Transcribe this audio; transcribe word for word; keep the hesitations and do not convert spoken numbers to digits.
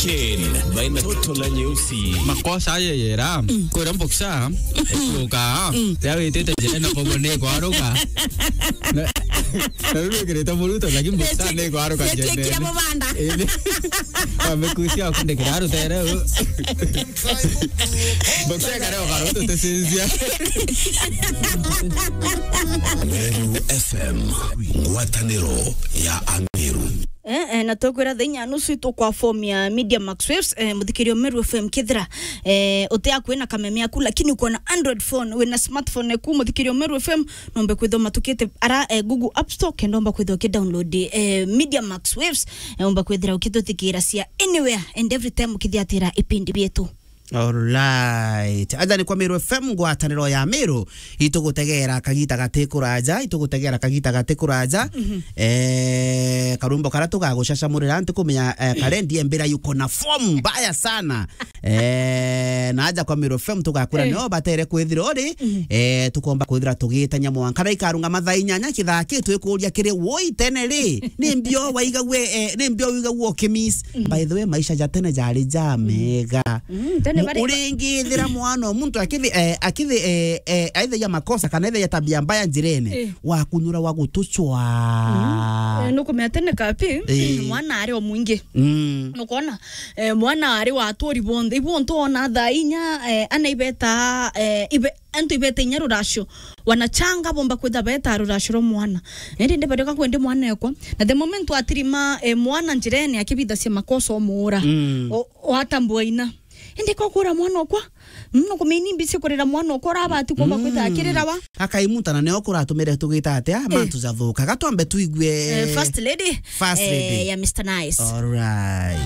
Ken, baina toto na nyeusi. Makosa aye yera, kwira mboksa, ekuka, ya witite njira na kogo ni kwaruka. Na, na riu wikirite muruto, lakini mboksa ni kwaruka njene. Kira mubanda. Indi, wamekusia kundikira rutere u. Mboksa kare ukaruto tesinzia. Meru F M, ngwataniro ya Ameru. Eh, eh, na tukwira thaa inya nusu itukwa form ya Media Max Waves, eh, muthikirio Meru F M kithira, eh, utia kwina kameme yaku, lakini uko na Android phone, wina smartphone yaku, muthikirio Meru F M, nombe kwithoma tukite ara, eh, Google App Store, kenda umba kwithwa ukidownload, eh, Media Max Waves, eh, umba kwithira ukituthikira cia anywhere and every time ukithiatira ipindi bietu. Alright. Aja ni kwa Meru F M, ngwataniro ya Meru. Itugutegera kagita gati kuraja, itugutegera kagita gati kuraja. Eh, karumbo kara tugagucacamurira, ntikumenya, eh, karendi embira yuko na form mbaya sana. Eh, na aja kwa Meru F M tugakura nio batere kwithira uri, eh, tukomba kwithira tugitanya mwanka. Kara ikarunga mathaa inyanya kithaki, twikuria kiri woi tene ri, ni mbio waigague, eh, ni mbio wigagua ukimiss. By the way, maisha ja tene jari ja mega. Mm, tene bari uringithira mwana o muntu akithi, eh, akithi, eh, eh, aithagia makosa kana aithagia tabia mbaya njirene, eh, wakunyura wa gutucwa. Mm. Eh, nukumenya tene kapi, eh, mwana ari o mwingi. Mm. Nukona, eh, mwana ari wa aturi bonthe. Ibu ntu ona thaa inya, eh, ana ibeta, eh, ibe, antu ibeta inya ruracio. Wanachanga bomba kwitha beta ruracio rwa mwana. Nindi ndebarioka kwendi mwana ekwa. Na the moment watirima, eh, mwana njirene akibithacia makosa omuura. Mm. O, watambua ina. Indi kokura mwana okwa. Mm, nukumenya ni mbisi kurira mwana okwa urabati kumba kwitha akirira wa. Akaimuta na nio kuratumire tugita atia, eh, mantu jathuka. Gatwambe tuigue, eh, First Lady, First Lady, eh, ya Mister Nice. Alright.